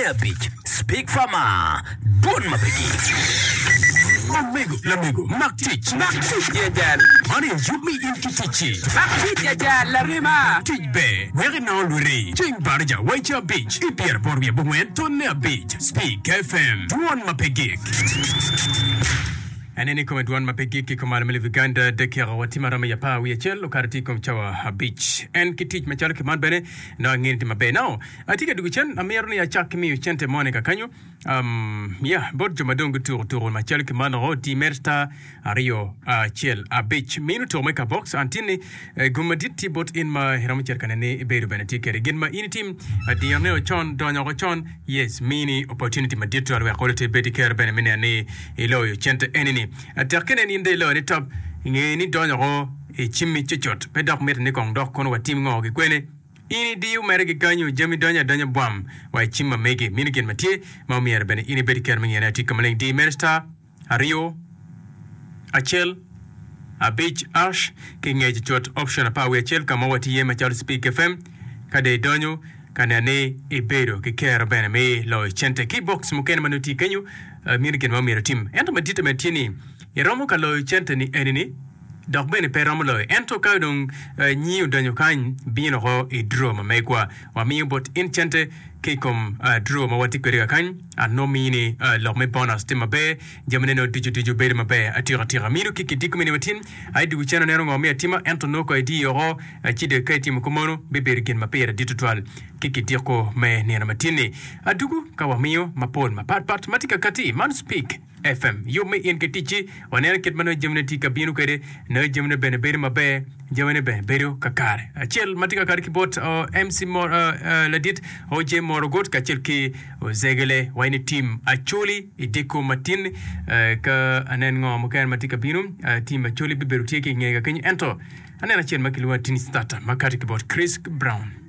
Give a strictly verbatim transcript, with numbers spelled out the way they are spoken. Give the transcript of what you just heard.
abic Speak Farmer, Dwon ma pe gik. Omego, lamego, mak tic. Mak tic ya jal. Man aye yub me in ki ticci. Mak tic ya jal, larema. Tic ber, wek inongo lwiti. Ceng baraja waica abic ki pyeraboro wiye abongwen tonne abic. Speak F M, Dwon ma pe gik. Aneno i kome dwon ma pe gik ki kumalo me lobo Uganda dakika watye ma romo i apar wiye acel okato tye i kom cawa abic. En ki tic macalo ki man bene nongo angene tye maber. Now, atye ka dwogo cen, amito ni acak ki miyo cente moni kakanyo. Um, yeah, bot jo ma dong gutuko tuko macalo ki man oko, di mere star aryo acel abic. Mino tuko me kabox, an tye ni eh, gum madit tye bot in ma iromo cito ka nene ni ibedo bene tye kwede. Gin ma in itim, adirne o con, donyo oko con, yes, mini opportunity madit twal wek olo te ibed ki kero bene me neno ni iloyo cente eni-ni. Tek kene ni in dong iloyo ni top, inge ni donyo oko i cimmi cucut, pe dok mitte ni kong dok kono watim ngo ki kwene. In idiyo mere ki kanyo, jami donyo adonya bwam wa i cim ma megi. Mino gin ma tye ma omyero bene in ibed ki kero me ngiyone atika maleng. Di mere star aryo acel abic ash ki ngec cut option apar wiye acel ka ma watye iye macalo Speak F M. Ka dong idonyo ka neno ni ibedo ki kero bene me loyo cente ki i box mukene ma nongo tye kenyo, mino gin ma omyero itim. Ento maditte bene tye ni iromo ka loyo cente ni eni ni dok bene pe romo loyo. Ento ka dong nyi odonyo kany, bino oko i draw ma megwa. Wamiyo bot in cente ki i kom draw ma watye kwede kakany. An nongo mini lok me bonus tye maber, jamine nongo ducu ducu bedo maber atika tika. Mino ki kidiko mini matin, ai dugu cen aneno ngo me atima, ento nongo ko idiyo oko, ci dong ka itimo kumeno, bibedo gin ma pire dit tutwal ki kidiko me nino matin-ni. Adugu ka wamiyo mapol mapat pat ma tye ka kati, man Speak F M. Yub me in ki ticci, waneno kit ma nongo jamine tye ka bino kwede, nongo jamine bene bedo maber, jamine bene bedo kakare. Acel ma tye kakare ki bot M C Mor, ladit O J Morogot kacel ki Ozegele wai ni team Acholi i diko matin. Ka anen ngo mukene ma tye ka bino, team Acholi bibedo tye ki i ngega kenyo, ento aneno acel ma kilwongo Tini Starter ma kati ki bot Chris Brown.